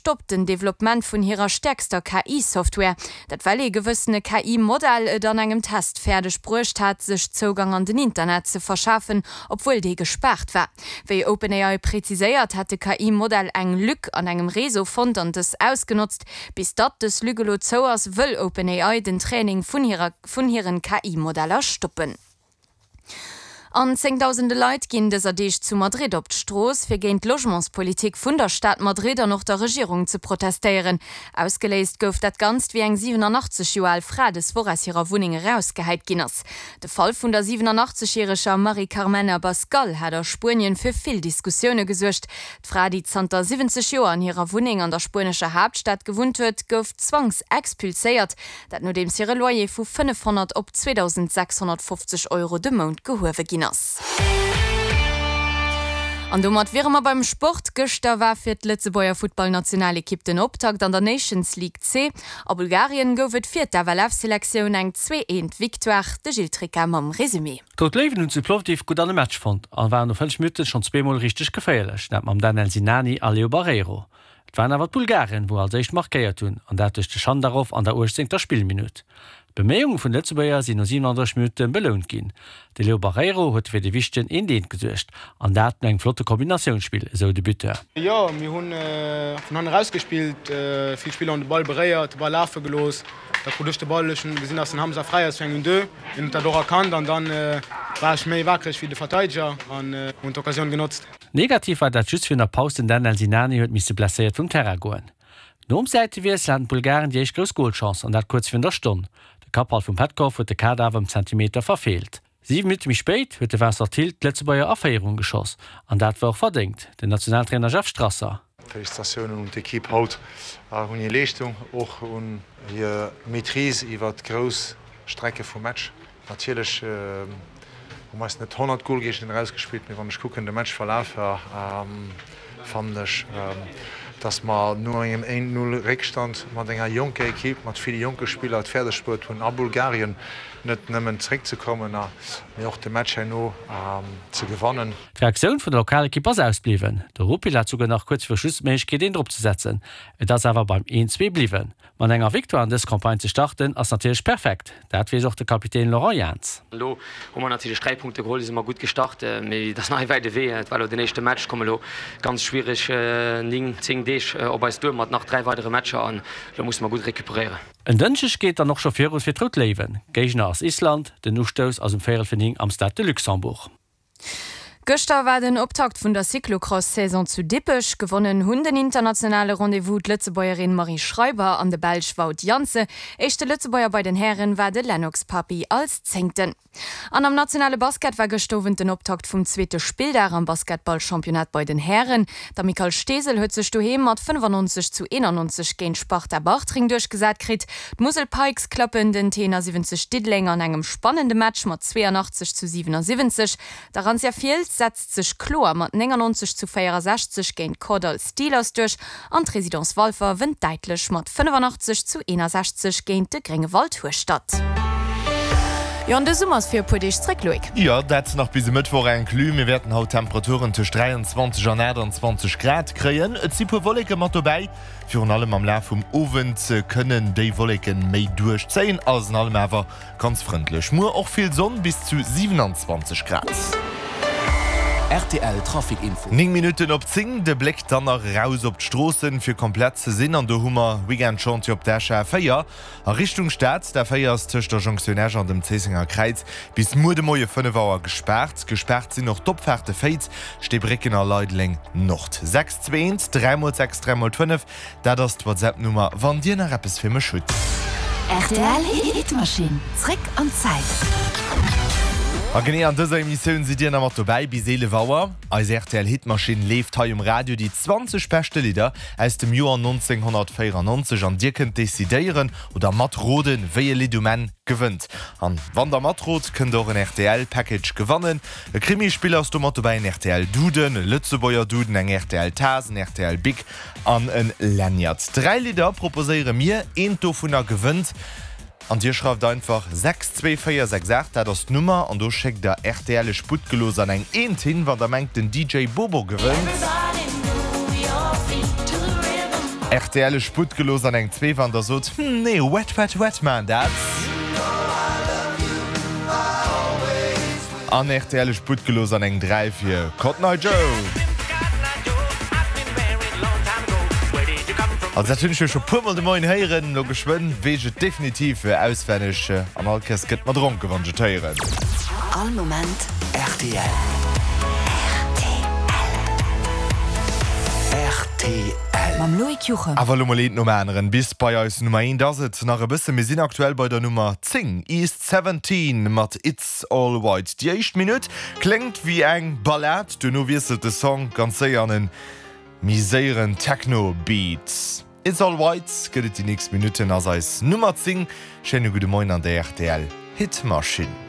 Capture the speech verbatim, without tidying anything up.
stoppt den Developpement vun hirer stäerkster K I-Software. Dat well ee gewëssene K I-Modell et an engem Test fäerdeg bruecht hat, sech Zougang an den Internet ze verschafen, obwuel dee gespaart war. Wéi OpenAI preziséiert, hätt de K I-Modell eng Lück an engem Réseau fonnt an dës ausgenotzt. Bis datt dës Lück elo zou ass, wëll OpenAI den Training vun hirer vun hiren K I-Modeller stoppen. An zéngdausende Leit ginn dëser Deeg zu Madrid op d'Strooss, fir géint d'Logementspolitik vun der Stad Madrid an och der Regierung ze protestéieren. Ausgeléist gouf dat Ganzt, wéi eng siwenanachtzeg Joer al Fra dës Woch aus hirer Wunneng erausgehäit ginn ass. De Fall vun der siwenanachtzeg järeger Mari Carmen Abascal hat a Spuenien fir vill Diskussioune gesuergt. D'Fra, déi zanter siwwenzeg Joer an hirer Wunneng an der spuenescher Haaptstad gewunnt huet, gouf zwangsexpulséiert, dat nodeems hire Loyer vu fënnefhonnert op zweedausendsechshonnertfofzeg Euro de Mount gehuewe ginn ass. An domat wiere mer beim Sport. Gëschter war fir d'Lëtzebuerger Futtballnationalekipp den Optakt an der Nations League C. A Bulgarien gouf et fir d'F L F-Selektioun eng zwee eent Victoire. De Gilles Tricca mam Resumé. D'Rout Léiwen hunn zu Plovdiv gutt an de Match fonnt a waren no fënnef Minutten schonn zweemol richteg geféierlech, dat mam Danel Sinani a Leo Barreiro. Et waren awer d'Bulgaren, wou als éischt markéiert hunn, an dat duerch de Schandarov an der uechtzéngter Spillminutt. D'Beméiunge vun de Lëtzebuerger sinn no siewenanddrësseg Minutte belount ginn. De Leo Barreiro huet fir de wichtegen eent eent gesuergt, an dat no engem flotte Kombinatiounsspill, esou de Buteur. Jo, mir hunn vun hannen erausgespillt, vill Spiller hunn de Ball beréiert, de Ball lafe gelooss. Da krut ech de Ball, ech hunn gesinn, dass den Hamza fräi ass fir eng un deux. Hien huet dat och erkannt an dann war ech méi wakereg wéi de Verteideger an hunn d'Occasioun genotzt. Negativ war dat just virun der Paus den Danel Sinani huet misse blesséiert vum Terrain goen. Nom Säitewiessel haten d'Bulgaren déi éischt grouss Golchance an dat kuerz virun der Stonn. De Kappball vum Petkov huet de Kader awer ëm Zentimeter verfeelt. Siwe Minutte méi spéit huet de Vincent Thill d'Lëtzebuerger a Féierung geschoss an dat war och verdéngt, den Nationaltrainer Jeff Strasser. Félicitatiounen un d'Ekipp haut un hir Leeschtung, och un hir Maîtrise iwwer grouss Strecke vum Match. Natierlech hu mer eis net honnert Golgéigner erausgespillt, mee wann ech kucken de Matchverlaf, fannen ech, dass mer no engem een Null Réckstand mat enger jonker Ekipp, mat ville jonke Spiller et fäerdeg bruet hunn a Bulgarien net nëmmen zeréckzekommen, mee och de Match herno ze gewannen. D'Reaktioun vun der Lokalekipp ass ausbliwwen. De Rupil hat souguer nach kuerz viru Schluss d'Méiglechkeet een drop ze setzen. Et ass awer beim een zwee bliwwen. Mat enger Victoire an dës Campagne ze starten ass natierlech perfekt. Dat weess och de Kapitän Laurent Jans. Elo hu mer natierlech dräi Punkte geholl, si mer gutt gestart, mee dat ass nach e wäite Wee. Et war elo den éischte Match, komme elo ganz schwiereg néng, zéng Deeg op eis duer mat nach dräi weidere Matcher an elo musse mer gutt recuperéieren. En Dënschdeg geet dann och scho viru fir d'Rout Léiwen. Géigner ass Island, den Ustouss ass um véierel vir néng am Stade de Luxembourg. Gëschter war den Optakt vun der Cyclocross-Saison zu Dippech. Gewonnen hunn den internationale Rendez-vous d'Lëtzebuergerin Marie Schreiber an de Belsch Wout Janssen. Éischte Lëtzebuerger bei den Hären war de Lennox Papi als Zéngten. An am nationale Basket war gëschter Owend den Optakt vum zweete Spilldag am Basketballchampionnat bei den Hären. D'Amicale Steesel huet sech doheem mat fënnefannonzeg zu eenannonzeg géint Sparta Bartreng duerchgesat kritt. D'Musel Pikes klappen den Tenor siwwenzeg Diddeleng an engem spannende Match mat zweeanachtzeg zu siwenasiwwenzeg. D'Arantia Fiels setzt sech kloer mat néngannonzeg zu véierasechzeg géint Kordall Steelers duerch an d'Residence Walfer wënnt däitlech mat fënnefannachtzeg zu eenasechzeg géint de Gréngewald Hueschtert. Jo, an de Summer ass fir e puer Deeg zréck, Loïc. Jo, dat nach bis e Mëttwoch inclus. Mir wäerten haut Temperaturen tëscht dräianzwanzeg an aachtanzwanzeg Grad kréien. Et si puer Wolleke mat dobäi. Virun allem am Laf vum Owend kënnen déi Wolleke méi duerchzéien. Alles an allem awer ganz frëndlech. Muer och vill Sonn, bis zu siwenanzwanzeg Grad. R T L Trafic Info. Néng Minutten op zéng, de Bléck dann nach eraus op d'Stroossen, fir komplett ze sinn. An do hu mer Weekend-Chantier op der Escher A véier a Richtung Stad. D'A véier ass tëscht der Jonktioun Esch an dem Zéissenger Kräiz bis muer de Moie fënnef Auer gespaart. Gespaart sinn och d'Opfaarte Féiz, Steebrécken a Leideleng Nord. Sechs zwee eent, dräi mol sechs, dräi mol fënnef, dat ass d'WhatsApp-Nummer, wann Dir nach eppes fir mech hutt. R T L Hitmaschinn, zréck an d'Zäit. A genee an dëser Emissioun sidd Dir nach mat dobäi bis eelef Auer. Eis R T L Hitmaschinn leeft hei um Radio déi zwanzeg beschte Lidder aus dem Joer nonzénghonnertvéierannonzeg an Dir kënnt decidéieren oder matroden, wéi e Lidd um Enn gewënnt. An wann der matrot, kënnt der och en R T L Package gewannen. E Krimispill ass do mat dobäi, en R T L Duden, e Lëtzebuerger Duden, eng R T L Taass, en R T L Bic an en Lanyard. Dräi Lidder proposéiere mir, eent dovunner gewënnt. An Dir schreift einfach sechs zwee véier sechs aacht, dat ass d'Nummer, an do schéckt der R T L ech Buttgelos an eng Eent hin, wann der mengt den D J Bobo gewënnt. Rtl e Sputt gelooss an eng zwee wann der sot, Hm, nee, Wet Wet Wet man dat. An rtl e Sputt gelooss an eng dräi fir Cotton Eye Joe. Also dat hunn ech jo scho puer mol de Moien héieren, lo geschwënn weess ech et definitiv auswenneg an all Kéiers gëtt mer dronken wann ech et héieren. All Moment rtl. Rtl. Mam Loïc Juchem. Awer elo mol eent nom aneren, bis bei eis Nummer eent ass et nach e bëssen. Mir sinn aktuell bei der Nummer zéng, East Seventeen mat It's All White. Déi éischt Minutt kléngt wéi eng Ballad, duerno wiesselt de Song ganz séier an en méi séieren Techno-Beat. It's All White gëtt et déi nächst Minutten, ass eis Nummer zéng. Schéine gudde Moien an der rtl Hitmaschinn.